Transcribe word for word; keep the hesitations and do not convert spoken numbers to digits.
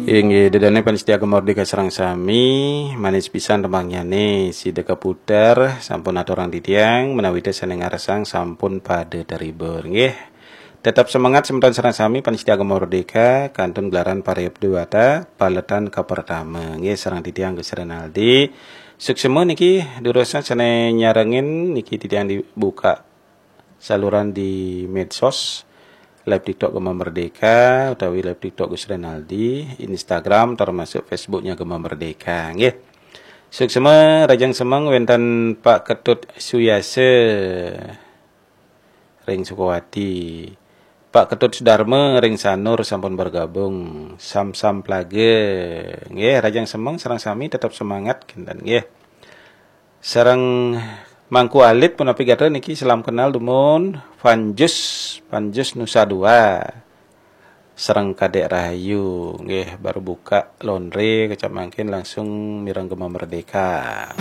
Inggih, ida dané pamiarsa Gema Merdeka sareng sami, manis pisan tembangnyané sida kaputer, sampun aturang titiang, menawi té sané ngarsang sampun pada terhibur, nggih. Tetap semangat semeton sareng sami pamiarsa Gema Merdeka, kantun gelaran Parayap Dewata, paletan kapertama, nggih, sareng titiang Gus Renaldi. Suksema niki durusna sané nyarengin niki titiang dibuka saluran di medsos, live TikTok Gema Merdeka utawi live TikTok Gus Renaldi, Instagram termasuk Facebooknya Gema Merdeka, nggih. Suksema, rahajeng semeng wénten Pak Ketut Suyasa ring Sukawati. Pak Ketut Sudarma ring Sanur sampun bergabung. Sam-sam plaga. Nggih, rahajeng semeng sareng sami tetap semangat kinten, nggih. Sareng Mangku Alit punapi gatra niki, salam kenal dumun Panjus, Panjus Nusa Dua. Sareng Kadék Rahayu, nggih, baru buka laundry kecap mangkin langsung mireng Gema Merdeka.